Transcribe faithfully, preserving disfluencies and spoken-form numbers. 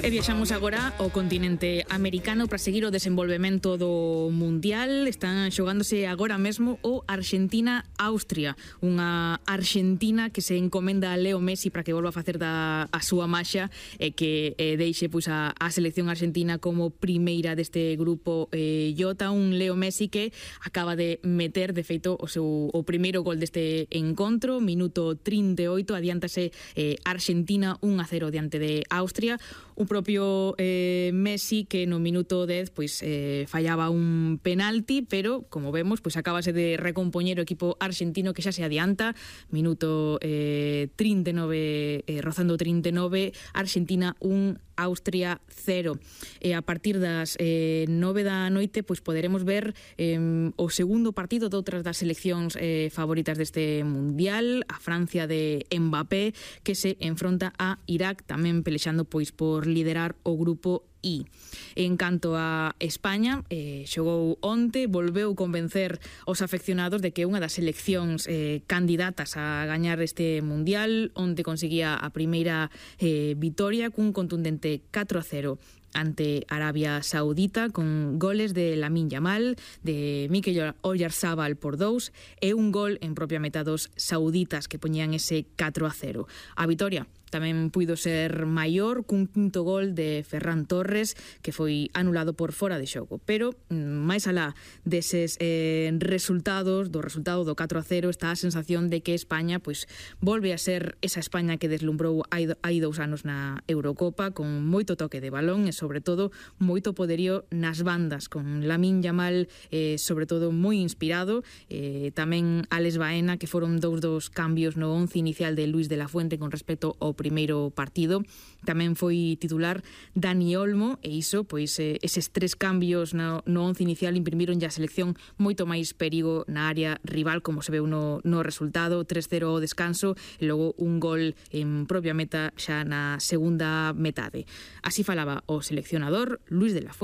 E viaxamos agora ao continente americano para seguir o desenvolvemento do Mundial. Están xogándose agora mesmo o Argentina-Austria, unha Argentina que se encomenda a Leo Messi para que volva a facer da a súa maxa e que eh, deixe pois, a, a selección argentina como primeira deste grupo eh, J. Un Leo Messi que acaba de meter, de feito, o seu o primeiro gol deste encontro, minuto trinta e oito, adiántase eh, Argentina un a cero diante de Austria. O propio eh, Messi que no minuto dez pois eh, fallaba un penalti, pero como vemos pois acabase de recompoñer o equipo argentino que xa se adianta, minuto eh, trinta e nove, eh, rozando trinta e nove, Argentina un, Austria cero. E a partir das eh, nove da noite pois poderemos ver eh, o segundo partido de outras das seleccións eh, favoritas deste Mundial, a Francia de Mbappé que se enfronta a Irak, tamén pelexando pois por liderar o grupo I. En canto a España, eh, xogou onte, volveu convencer os afeccionados de que unha das seleccións eh, candidatas a gañar este Mundial. Onte conseguía a primeira eh, vitoria cun contundente catro a cero ante Arabia Saudita, con goles de Lamine Yamal, de Mikel Oyarzabal por dous e un gol en propia meta dos sauditas que poñían ese catro a cero. A vitoria tamén puido ser maior cun quinto gol de Ferran Torres que foi anulado por fora de xogo, pero máis alá deses eh, resultados, do resultado do catro a cero, está a sensación de que España pois volve a ser esa España que deslumbrou hai, hai dous anos na Eurocopa, con moito toque de balón e sobre todo moito poderío nas bandas, con Lamine Yamal eh, sobre todo moi inspirado, eh, tamén Alex Baena, que foron dous dos cambios no once inicial de Luis de la Fuente con respecto ao primeiro partido. Tamén foi titular Dani Olmo e iso, pois eh, eses tres cambios no, no once inicial imprimiron ya a selección moito máis perigo na área rival, como se veu no, no resultado, tres cero ao descanso e logo un gol en propia meta xa na segunda metade. Así falaba o seleccionador Luis de la Fuente.